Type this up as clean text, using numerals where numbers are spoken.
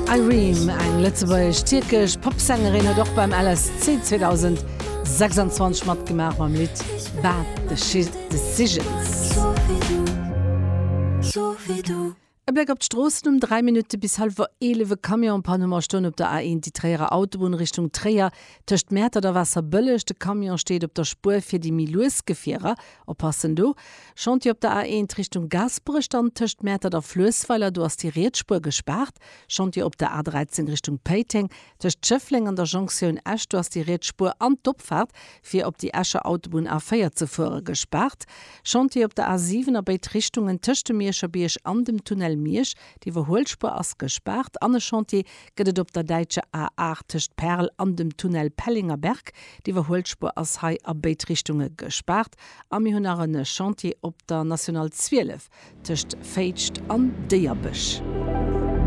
Irene, eng lëtzebuergesch-tierkesch Popsängerin, huet och beim LSC 2026 matgemaach mam Lidd Bad Decisions. E Bléck op d'Stroossen um 3 Minutte bis hallwer 11, E Camion en panne hu mer stoen op der A1, déi Tréierer Autobunn Richtung Tréier, tëscht Mäertert a Waasserbëlleg. De Camion steet op der Spuer fir déi méi lues Gefierer. Oppassen do! Chantier op der A1 Richtung Gaasperech, dann tëscht Mäertert a Fluessweiler, do ass déi riets Spuer gespaart. Chantier op der A13 Richtung Péiteng, tëscht Schëffleng an der Jonktioun Esch, do ass déi riets Spuer an d'Opfaart fir op déi Escher Autobunn A4 ze fuere gespaart. Chantier op der A7 a béid Richtungen tëscht dem Mierscher Bierg an dem Tunnel Miersch, d'Iwwerhuelspuer ass gespaart. An e Chantier gëtt et op der däitscher A8 tëscht Perl an dem Tunnel Pellengerberg, d'Iwwerhuelspuer ass hei a béid Richtunge gespaart. A mir hunn nach e Chantier op der National 12 tëscht Féitscht an Déierbech.